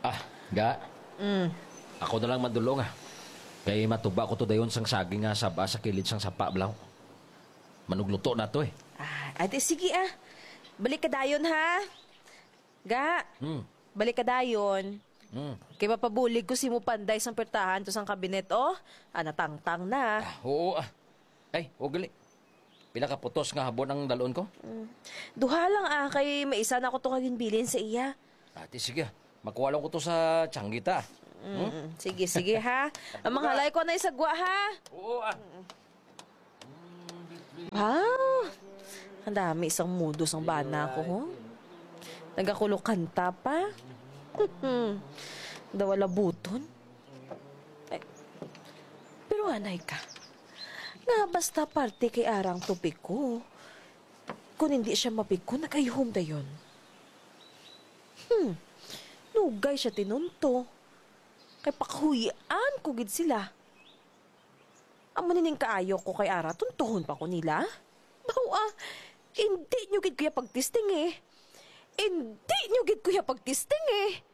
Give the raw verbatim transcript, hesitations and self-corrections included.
Ah, ga. Mm. Ako na lang madulong, ah. Kay matuba ko to dayon sang saging nga saba sa kilid sang sapa, blaw. Manugluto na to, eh. Ah, ate, sige, ah. Balik ka dayon, ha? Ga. Hmm. Balik ka dayon. Hmm. Kay mapabulig ko si mo panday sang pertahan to sang kabinet, oh. Ah, natangtang na. Ah, oo, ah. Ay, ugali. Pila ka putos nga habon ang dalon ko? Mm. Duha lang, ah, kay may isa na ko to nga ginbilin sa iya. Ate, sige. Makuha lang ko to sa tsanggita. Mm, sige, sige, ha. Ang mga halay ko na isagwa, ha. Oo, ah. Wow! Ang dami isang mudo sang bana ko, ho. Nagakulokanta pa. Daw wala buton. Eh, pero anay ka. Nga basta parte kay arang tupiko. Kung hindi siya mapiko, nagayhom dayon. Hmm. Lugay siya tinunto. Kay pakuhian ko gid sila. Amo nining kaayo ko kay ara, tuntuhon pa ko nila. Bawa, hindi nyo gid kuya pagtisting eh. Hindi nyo gid kuya pagtisting eh.